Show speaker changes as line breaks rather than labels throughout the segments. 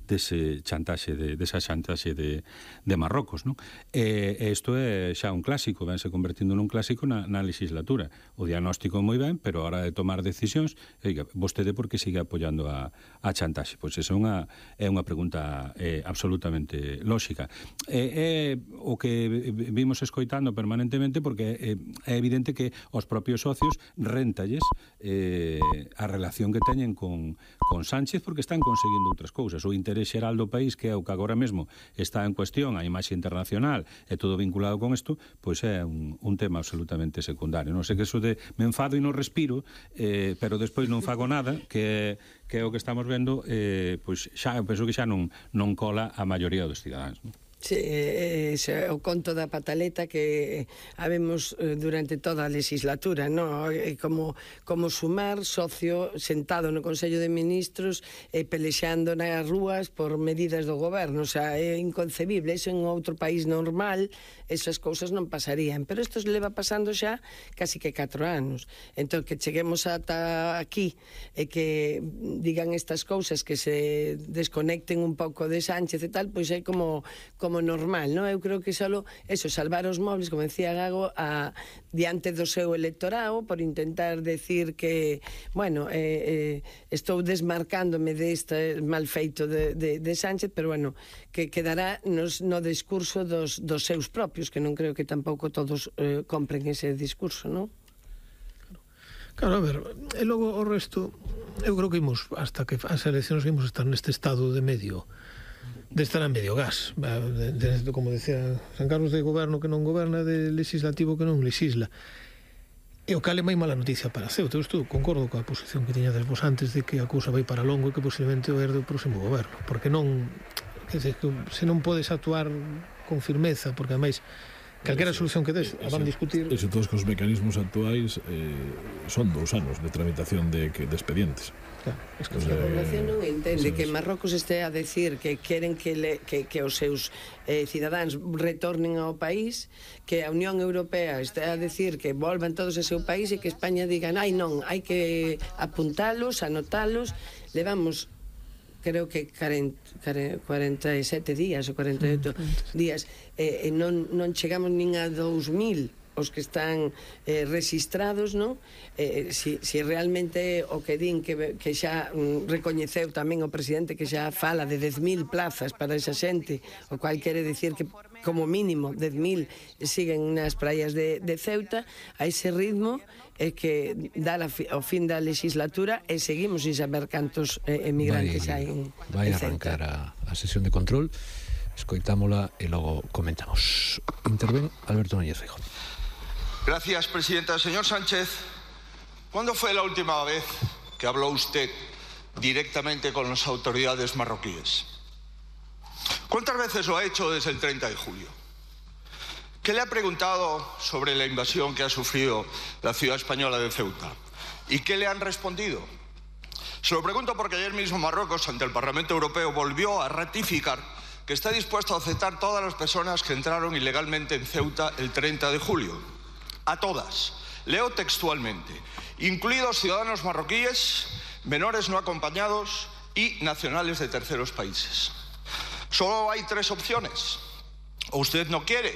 desa chantaxe de Marrocos, non? Isto é xa un clásico, vense convertindo nun clásico na legislatura. O diagnóstico moi ben, pero a hora de tomar decisións, vostede por que sigue apoiando a chantaxe? Pois esa é unha pregunta absolutamente lóxica. É o que vimos escoitando permanentemente, porque é evidente que aos propios socios réntalles a relación que teñen con Sánchez, porque están conseguindo outras cousas. O interés xeral do país, que é o que agora mesmo está en cuestión, a imaxe internacional e todo vinculado con isto, pois é un tema absolutamente secundario. Non sei que eso de me enfado e non respiro, pero despois non fago nada, que é o que estamos vendo, pois xa, eu penso que xa non cola a maioría dos cidadáns, non?
Sí, o conto da pataleta que habemos durante toda a legislatura, no? Como sumar socio sentado no Consello de Ministros e pelexando nas rúas por medidas do goberno. O sea, é inconcebible. Eso en outro país normal, esas cousas non pasarían, pero isto leva pasando xa casi que 4 anos. Entón, que cheguemos ata aquí e que digan estas cousas, que se desconecten un pouco de Sánchez e tal, pois é como normal, non? Eu creo que só eso, salvar os móviles, como decía Gago, diante do seu electorado, por intentar decir que, bueno, estou desmarcándome deste mal feito de Sánchez, pero, bueno, que quedará no discurso dos seus propios, que non creo que tampouco todos compren ese discurso, non?
Claro, a ver, e logo o resto, eu creo que imos, hasta que as eleccións imos estar neste estado de medio, de estar a medio gas, como decía San Carlos, de goberno que non goberna, de legislativo que non legisla. E o cal é moi mala noticia para Ceuta. Eu concordo coa posición que tiñades vos antes de que a cousa vai para longo e que posiblemente o herde o próximo goberno, porque non, se non podes actuar con firmeza, porque ademais calquera solución que des, a van discutir.
E se todos os mecanismos actuais son 2 anos de tramitación de expedientes.
Claro, es que a población non entende que Marrocos este a decir que queren que os seus cidadáns retornen ao país, que a Unión Europea este a decir que volvan todos ao seu país e que España digan, ai non, hai que apuntalos, anotalos. Levamos, creo que 47 días ou 48 días, e non chegamos nin a 2000 os que están registrados, non? Si realmente o que din que xa recoñeceu tamén o presidente, que xa fala de 10.000 plazas para esa xente, o cual quere dicir que como mínimo 10.000 siguen nas praias de Ceuta, a ese ritmo é que dá o fin da legislatura e seguimos sin saber cantos emigrantes hai en Ceuta.
Vai arrancar a sesión de control, escoitámola e logo comentamos. Interven Alberto Núñez Feijóo.
Gracias, presidenta. Señor Sánchez, ¿cuándo fue la última vez que habló usted directamente con las autoridades marroquíes? ¿Cuántas veces lo ha hecho desde el 30 de julio? ¿Qué le ha preguntado sobre la invasión que ha sufrido la ciudad española de Ceuta? ¿Y qué le han respondido? Se lo pregunto porque ayer mismo Marruecos, ante el Parlamento Europeo, volvió a ratificar que está dispuesto a aceptar todas las personas que entraron ilegalmente en Ceuta el 30 de julio. A todas. Leo textualmente. Incluidos ciudadanos marroquíes, menores no acompañados y nacionales de terceros países. Solo hay 3 opciones. O usted no quiere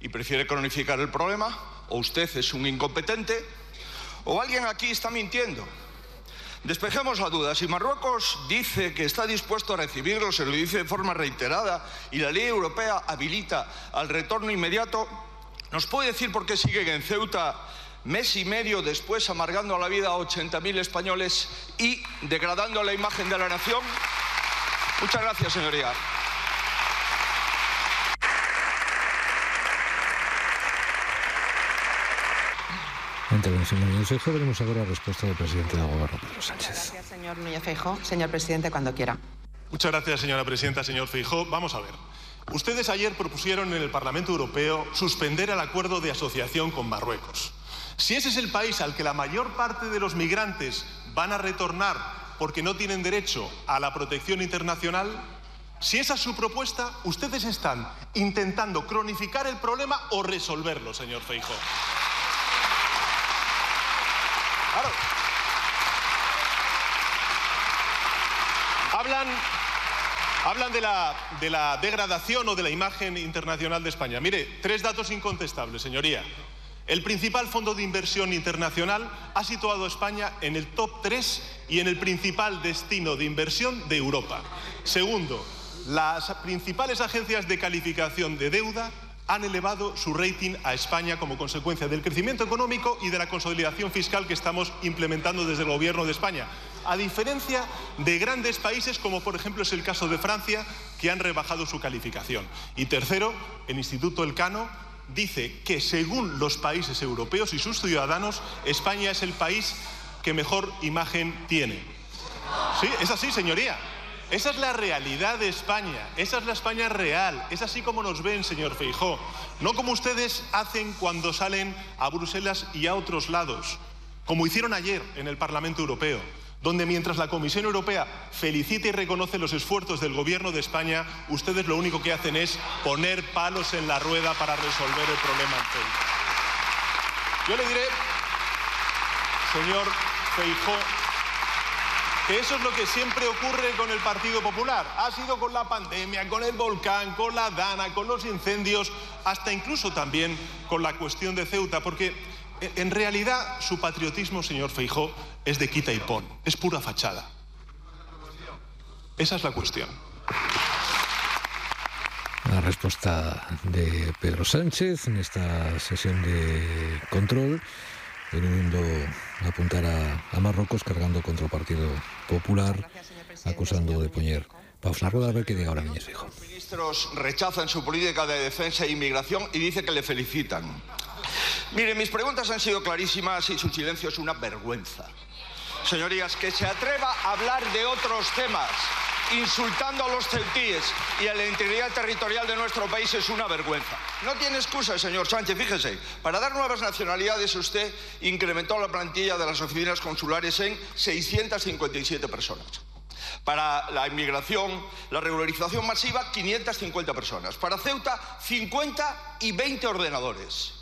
y prefiere cronificar el problema, o usted es un incompetente, o alguien aquí está mintiendo. Despejemos la duda. Si Marruecos dice que está dispuesto a recibirlos, se lo dice de forma reiterada, y la ley europea habilita al retorno inmediato, ¿nos puede decir por qué siguen en Ceuta mes y medio después amargando la vida a 80.000 españoles y degradando la imagen de la nación? Muchas gracias, señoría.
Intervención de Núñez Feijóo. Veremos agora a resposta do presidente do Goberno, Pedro Sánchez.
Gracias, señor Núñez Feijóo. Señor presidente, cuando quiera.
Muchas gracias, señora presidenta. Señor Feijóo, vamos a ver. Ustedes ayer propusieron en el Parlamento Europeo suspender el acuerdo de asociación con Marruecos. Si ese es el país al que la mayor parte de los migrantes van a retornar porque no tienen derecho a la protección internacional, si esa es su propuesta, ustedes están intentando cronificar el problema o resolverlo, señor Feijóo. Claro. Hablan de la degradación o de la imagen internacional de España. Mire, 3 datos incontestables, señoría. El principal fondo de inversión internacional ha situado a España en el top 3 y en el principal destino de inversión de Europa. Segundo, las principales agencias de calificación de deuda han elevado su rating a España como consecuencia del crecimiento económico y de la consolidación fiscal que estamos implementando desde el Gobierno de España, a diferencia de grandes países como por ejemplo es el caso de Francia, que han rebajado su calificación. Y tercero, el Instituto Elcano dice que según los países europeos y sus ciudadanos, España es el país que mejor imagen tiene. Sí, es así, señoría. Esa es la realidad de España, esa es la España real, es así como nos ven, señor Feijóo. No como ustedes hacen cuando salen a Bruselas y a otros lados, como hicieron ayer en el Parlamento Europeo, donde mientras la Comisión Europea felicita y reconoce los esfuerzos del Gobierno de España, ustedes lo único que hacen es poner palos en la rueda para resolver el problema en Ceuta. Yo le diré, señor Feijóo, que eso es lo que siempre ocurre con el Partido Popular. Ha sido con la pandemia, con el volcán, con la Dana, con los incendios, hasta incluso también con la cuestión de Ceuta, porque en realidad su patriotismo, señor Feijóo, es de quita y pon, es pura fachada. Esa es la cuestión.
La respuesta de Pedro Sánchez en esta sesión de control, veniendo a apuntar a Marruecos, cargando contra el Partido Popular, acusando de poner paus na rueda. A ver qué diga ahora Núñez Feijóo.
Los ministros rechazan su política de defensa e inmigración y dice que le felicitan. Mire, mis preguntas han sido clarísimas y su silencio es una vergüenza. Señorías, que se atreva a hablar de otros temas, insultando a los ceutíes y a la integridad territorial de nuestro país, es una vergüenza. No tiene excusa, señor Sánchez, fíjese. Para dar nuevas nacionalidades usted incrementó la plantilla de las oficinas consulares en 657 personas. Para la inmigración, la regularización masiva, 550 personas. Para Ceuta, 50 y 20 ordenadores.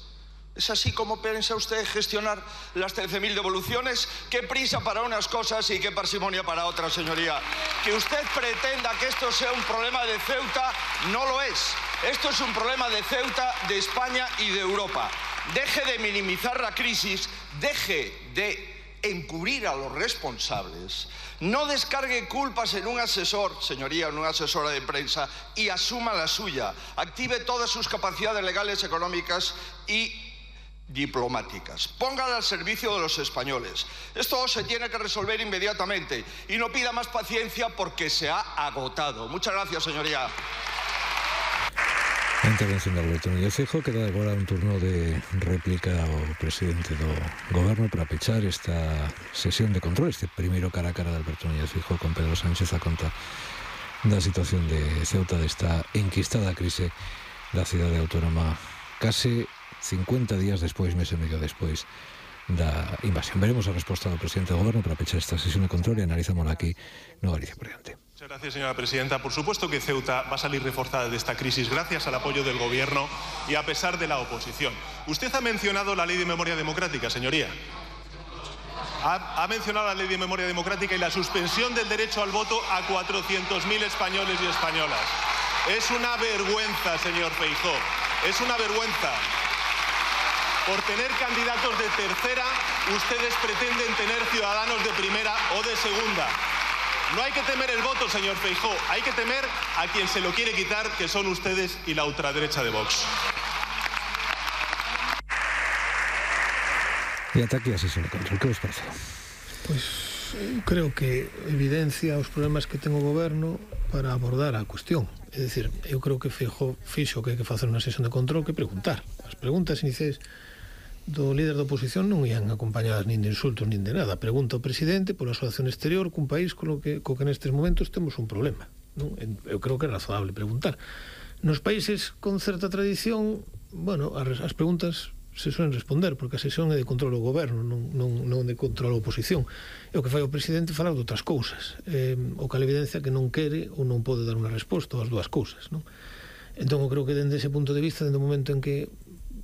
¿Es así como piensa usted gestionar las 13.000 devoluciones? Qué prisa para unas cosas y qué parsimonia para otras, señoría. Que usted pretenda que esto sea un problema de Ceuta, no lo es. Esto es un problema de Ceuta, de España y de Europa. Deje de minimizar la crisis, deje de encubrir a los responsables, no descargue culpas en un asesor, señoría, en una asesora de prensa, y asuma la suya. Active todas sus capacidades legales, económicas y diplomáticas. Póngala al servicio de los españoles. Esto se tiene que resolver inmediatamente y no pida más paciencia porque se ha agotado. Muchas gracias, señoría.
A intervención de Alberto Núñez Feijóo. Queda agora un turno de réplica ao presidente do Goberno para pechar esta sesión de control, este primeiro cara a cara de Alberto Núñez Feijóo con Pedro Sánchez a conta da situación de Ceuta, desta enquistada crise da cidade autónoma case 50 días despois, mes e medio despois da invasión. Veremos a resposta do presidente do Goberno para pechar esta sesión de control e analizámola aquí no Galicia por diante.
Muchas gracias, señora presidenta. Por supuesto que Ceuta va a salir reforzada de esta crisis gracias al apoyo del Gobierno y a pesar de la oposición. Usted ha mencionado la Ley de Memoria Democrática, señoría. Ha mencionado la Ley de Memoria Democrática y la suspensión del derecho al voto a 400.000 españoles y españolas. Es una vergüenza, señor Feijóo. Es una vergüenza. Por tener candidatos de tercera, ustedes pretenden tener ciudadanos de primera o de segunda. No hay que temer el voto, señor Feijóo. Hay que temer a quien se lo quiere quitar, que son ustedes y la ultraderecha de Vox.
E ata aquí a sesión de control. Que vos parece?
Pois creo que evidencia os problemas que ten o Goberno para abordar a cuestión. É dicir, eu creo que Feijóo fixo que hai que facer unha sesión de control que preguntar. As preguntas iniciais do líder da oposición non ian acompañadas nin de insultos nin de nada. Pregunta ao presidente pola súa acción exterior cun país co que nestes momentos temos un problema, non? Eu creo que é razonable preguntar. Nos países con certa tradición, bueno, as preguntas se suelen responder, porque a sesión é de control ao goberno, non de control á oposición. E o que fai o presidente é falar de outras cousas, o que a evidencia que non quere ou non pode dar unha resposta ás dúas cousas, non? Entón, eu creo que dende ese punto de vista, dende o momento en que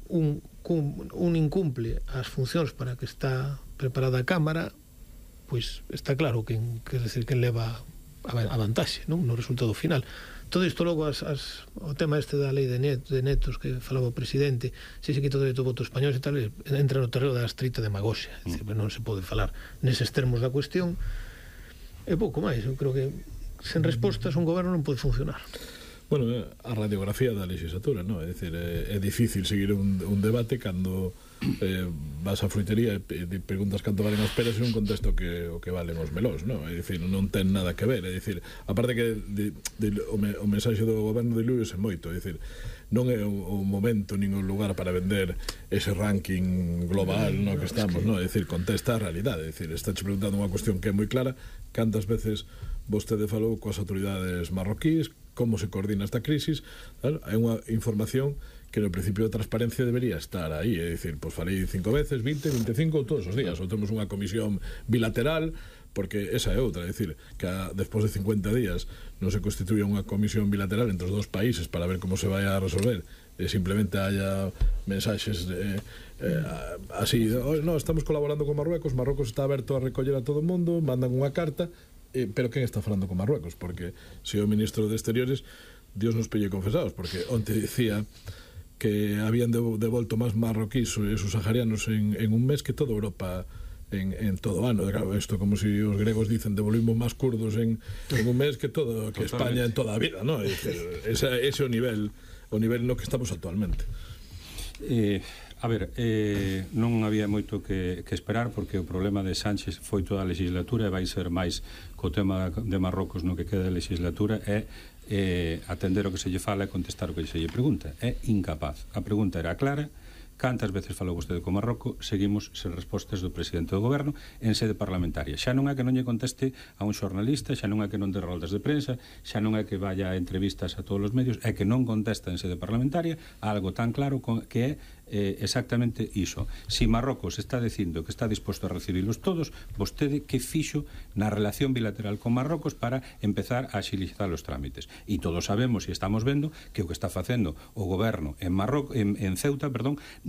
un incumple as funcións para que está preparada a Cámara, pois está claro quen leva a vantaxe, non? No resultado final. Todo isto logo o tema da lei de netos que falaba o presidente, se quita o dereito ao voto español e tal, entra no terreno da estrita demagoxia. Non se pode falar neses termos da cuestión. E pouco máis, eu creo que sen respostas un goberno non pode funcionar.
Bueno, a radiografía da legislatura, non? É dicir, é difícil seguir un debate cando vas á fruitería e preguntas canto valen as peras e non contesta o que valen os melóns, non? É dicir, non ten nada que ver, é dicir, aparte que o mensaxe do goberno de Luís é moito, é dicir, non é o momento nin o lugar para vender ese ranking global no que estamos, non? É dicir, contesta a realidade, é dicir, estáche preguntando unha cuestión que é moi clara, cantas veces vostede falou coas autoridades marroquíes, como se coordina esta crisis, claro, hai unha información que no principio de transparencia debería estar aí, é dicir, pois falei 5 veces, 20, 25 todos os días, ou temos unha comisión bilateral, porque esa é outra, é dicir, que despois de 50 días non se constituye unha comisión bilateral entre os dos países para ver como se vai a resolver, e simplemente haya mensaxes así, no, estamos colaborando con Marruecos está aberto a recoller a todo o mundo, mandan unha carta, pero quen está falando con Marruecos? Porque se o ministro de Exteriores, Dios nos pelle confesados, porque onte dicía que habían devolto máis marroquíes e subsaharianos en un mes que toda Europa en todo ano. Claro, isto como se os gregos dicen devolvimos máis kurdos en un mes que España en toda a vida, ¿no? Ese é o nivel no que estamos actualmente.
A ver, non había moito que esperar, porque o problema de Sánchez foi toda a legislatura e vai ser máis co tema de Marrocos no que queda de legislatura, é atender o que se lle fala e contestar o que se lle pregunta. É incapaz. A pregunta era clara: cantas veces falou vostede con Marrocos? Seguimos sen respostas do presidente do goberno en sede parlamentaria. Xa non é que non lle conteste a un xornalista, xa non é que non dé roldas de prensa, xa non é que vaya a entrevistas a todos os medios, é que non contesta en sede parlamentaria a algo tan claro que é exactamente iso. Si Marrocos está dicindo que está disposto a recibilos todos, vostede que fixo na relación bilateral con Marrocos para empezar a axilizar os trámites? E todos sabemos e estamos vendo que o que está facendo o goberno en Ceuta,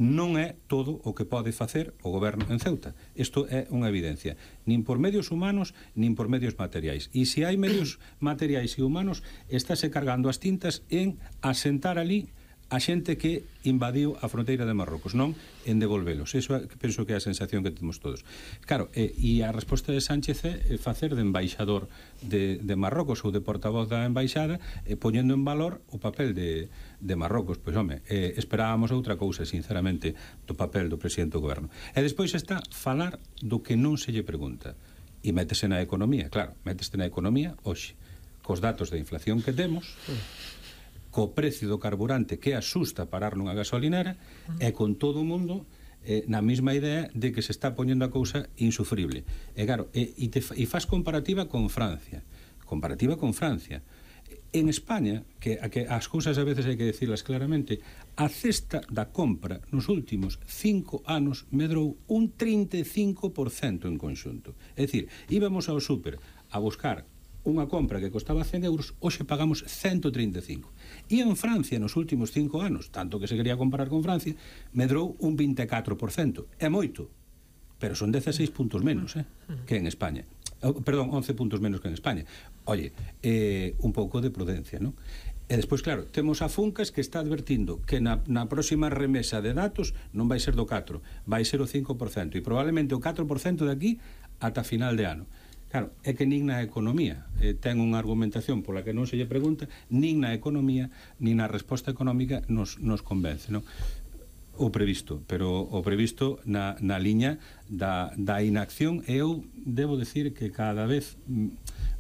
non é todo o que pode facer o goberno en Ceuta. Isto é unha evidencia, nin por medios humanos nin por medios materiais. E se hai medios materiais e humanos, estáse cargando as tintas en asentar ali a xente que invadiu a fronteira de Marrocos, non en devolvelos. Eso penso que é a sensación que temos todos. Claro, e a resposta de Sánchez é facer de embaixador de Marrocos ou de portavoz da embaixada, poñendo en valor o papel de Marrocos. Pois, home, esperábamos outra cousa, sinceramente, do papel do presidente do goberno. E despois está falar do que non se lle pregunta. E métese na economía, claro, métese na economía hoxe, cos datos de inflación que temos, co precio do carburante que asusta parar nunha gasolinera, e con todo o mundo na mesma idea de que se está poñendo a cousa insufrible. E claro, e faz comparativa con Francia. En España, que as cousas a veces hai que decirlas claramente, a cesta da compra nos últimos 5 anos medrou un 35% en conxunto. É dicir, íbamos ao súper a buscar unha compra que costaba 100 euros, hoxe pagamos 135. E en Francia, nos últimos 5 anos, tanto que se quería comparar con Francia, medrou un 24%. É moito, pero son 16 puntos menos que en España. Perdón, 11 puntos menos que en España. Oye, un pouco de prudencia, non? E despois, claro, temos a Funcas que está advertindo que na próxima remesa de datos non vai ser do 4, vai ser o 5%, e probablemente o 4% de aquí ata final de ano. Claro, é que nin na economía ten unha argumentación pola que non se lle pregunta, nin na economía, nin na resposta económica nos convence, non? O previsto, pero o previsto na liña da inacción. Eu debo decir que cada vez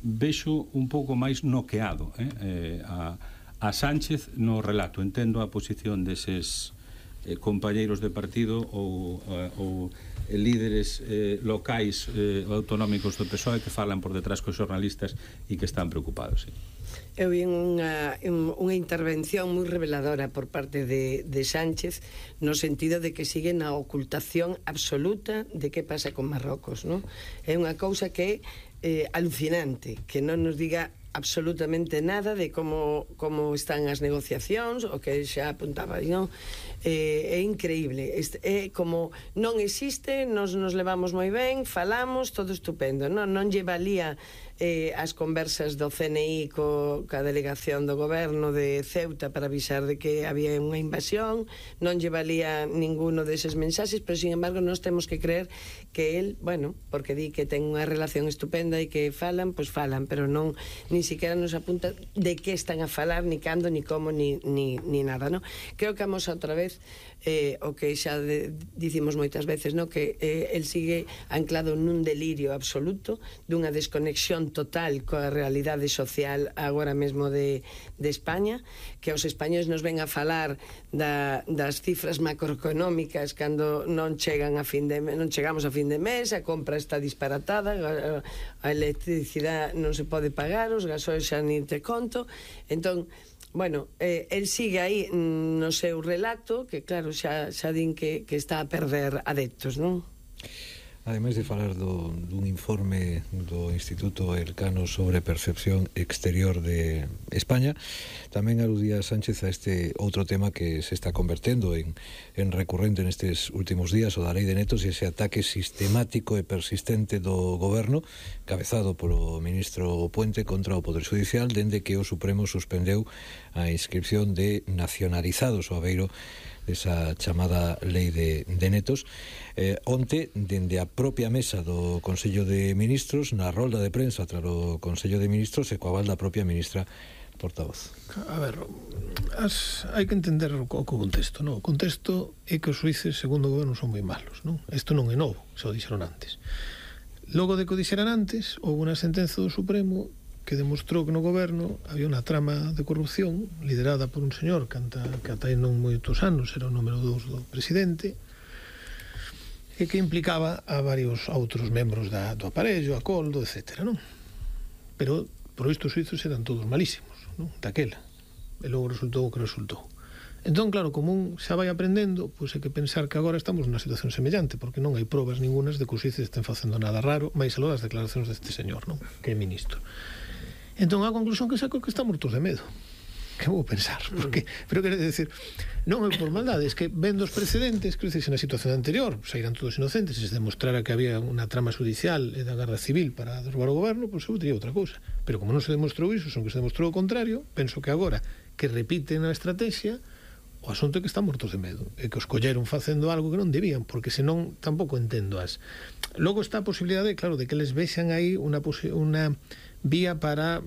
vexo un pouco máis noqueado a Sánchez no relato. Entendo a posición deses compañeiros de partido ou líderes locais autonómicos do PSOE que falan por detrás cos xornalistas e que están preocupados. Sí.
Eu vi unha intervención moi reveladora por parte de Sánchez, no sentido de que sigue na ocultación absoluta de que pasa con Marrocos, non? É unha cousa que é alucinante, que non nos diga absolutamente nada de como están as negociacións, o que xa apuntaba, non? É increíble, é como non existe, nos levamos moi ben, falamos, todo estupendo, non lle valía as conversas do CNI ca delegación do goberno de Ceuta para avisar de que había unha invasión, non lle valía ninguno deses mensaxes, pero sin embargo nós temos que creer que el, bueno, porque di que ten unha relación estupenda e que falan, pois falan, pero non, ni siquiera nos apunta de que están a falar, ni cando, ni como, ni nada, non? Creo que vamos outra vez o que xa dicimos moitas veces, no? Que el sigue anclado nun delirio absoluto, dunha desconexión total coa realidade social agora mesmo de España, que os españoles nos ven a falar das cifras macroeconómicas cando non chegan a fin de non chegamos a fin de mes, a compra está disparatada, a electricidade non se pode pagar, os gasoil xa nin te conto. Entón, bueno, el sigue aí no seu relato, que claro, xa din que está a perder adeptos, non?
Ademais de falar dun informe do Instituto Elcano sobre percepción exterior de España, tamén aludía Sánchez a este outro tema que se está convertendo en recurrente nestes últimos días, o da lei de netos, e ese ataque sistemático e persistente do goberno, cabezado polo ministro Puente, contra o Poder Judicial, dende que o Supremo suspendeu a inscripción de nacionalizados ao abeiro desa chamada lei de netos. Onte, dende a propia mesa do Consello de Ministros, na rolda de prensa tras o Consello de Ministros, e coa aval da propia ministra portavoz.
A ver, hai que entender o contexto, non? O contexto é que os xuíces, segundo o goberno, son moi malos, non? Isto non é novo, xa o dixeron antes. Logo de que o dixeran antes, houve unha sentenza do Supremo que demostrou que no goberno había unha trama de corrupción liderada por un señor que ata aí non moitos anos era o número 2 do presidente, e que implicaba a varios outros membros do aparello, a Coldo, etc., non? Pero por isto os suizos eran todos malísimos, non? Daquela. E logo resultou o que resultou. Entón, claro, como un xa vai aprendendo, pois hai que pensar que agora estamos nunha situación semellante, porque non hai probas ningunas de que os suizos estén facendo nada raro, máis aló das declaracións deste señor, non? Que é ministro. Entón, a conclusión que saco é que están mortos de medo. Que vou pensar? Porque, pero quero decir, non é por maldade, es que vendo os precedentes, que se na situación anterior saíran todos inocentes e se demostrara que había unha trama judicial e da Garda Civil para derrubar o goberno, pois eu diría outra cousa. Pero como non se demostrou iso, son que se demostrou o contrario, penso que agora que repiten a estrategia, o asunto é que están mortos de medo, e que os colleron facendo algo que non debían, porque senón tampouco entendo as. Logo está a posibilidade, claro, de que les vexan aí unha vía para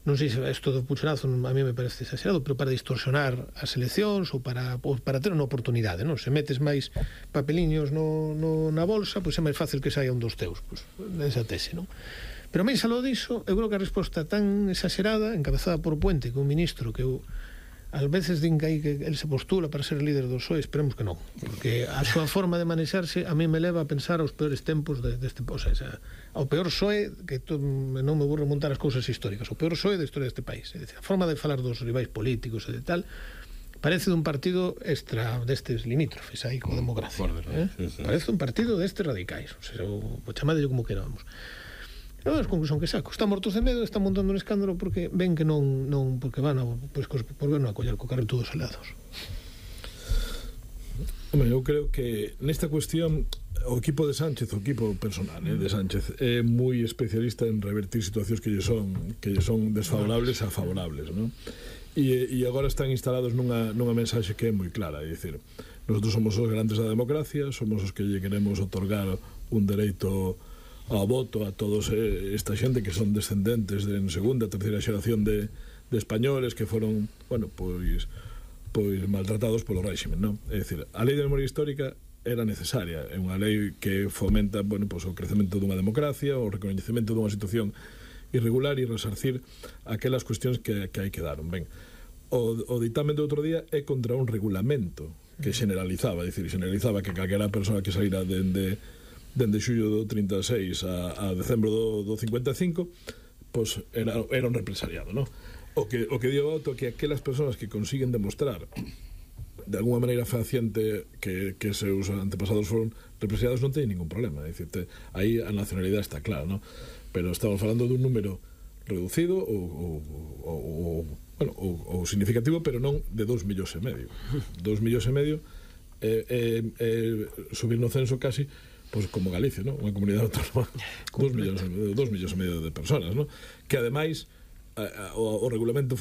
non sei se isto do pucherazo a mí me parece exagerado, pero para distorsionar as eleccións ou para ter unha oportunidade, non? Se metes máis papeliños na bolsa, pois é máis fácil que saia un dos teus, pois esa tese, non? Pero máis aló diso, eu creo que a resposta tan exagerada, encabezada por Puente, que é un ministro que eu ás veces din que el se postula para ser líder do PSOE, esperemos que non, porque a súa forma de manexarse a mí me leva a pensar aos peores tempos deste país, ao peor PSOE, que non me vou remontar as cousas históricas, o peor PSOE da historia deste país. É dicir, a forma de falar dos rivais políticos e de tal parece dun partido extra destes limítrofes aí co democracia, parece un partido destes radicais, o sea, o chamadelo como queramos. É a conclusión que saco. Están mortos de medo, están montando un escándalo porque ven que non porque van a por ver non a coller co carro todos helados.
Home, eu creo que nesta cuestión o equipo de Sánchez, o equipo personal de Sánchez é moi especialista en revertir situacións que lle son desfavorables a favorables, non? E agora están instalados nunha mensaxe que é moi clara, é dicir, nosotros somos os grandes da democracia, somos os que lle queremos otorgar un dereito ao voto a todos esta xente que son descendentes de segunda, terceira xeración de españoles que foron, bueno, pois maltratados polo réxime, non? É dicir, a lei de memoria histórica era necesaria, é unha lei que fomenta, bueno, pois o crecemento dunha democracia, o recoñecemento dunha situación irregular e resarcir aquelas cuestións que hai que dar. Ben, o ditame do outro día é contra un regulamento que generalizaba, é dicir, generalizaba que calquera persoa que saíra dende xullo do 36 a decembro do 55, pois era un represaliado, non? O que dio auto que aquelas persoas que consiguen demostrar de alguma maneira fehaciente que seus antepasados foron represaliados non teñen ningún problema, é dicir, aí a nacionalidade está clara, non? Pero estamos falando dun número reducido ou significativo, pero non de 2,5 millóns. 2,5 millóns subir no censo casi pois como Galicia, ¿no? Unha comunidade autónoma 2 millóns e medio de personas, ¿no? Que ademais o regulamento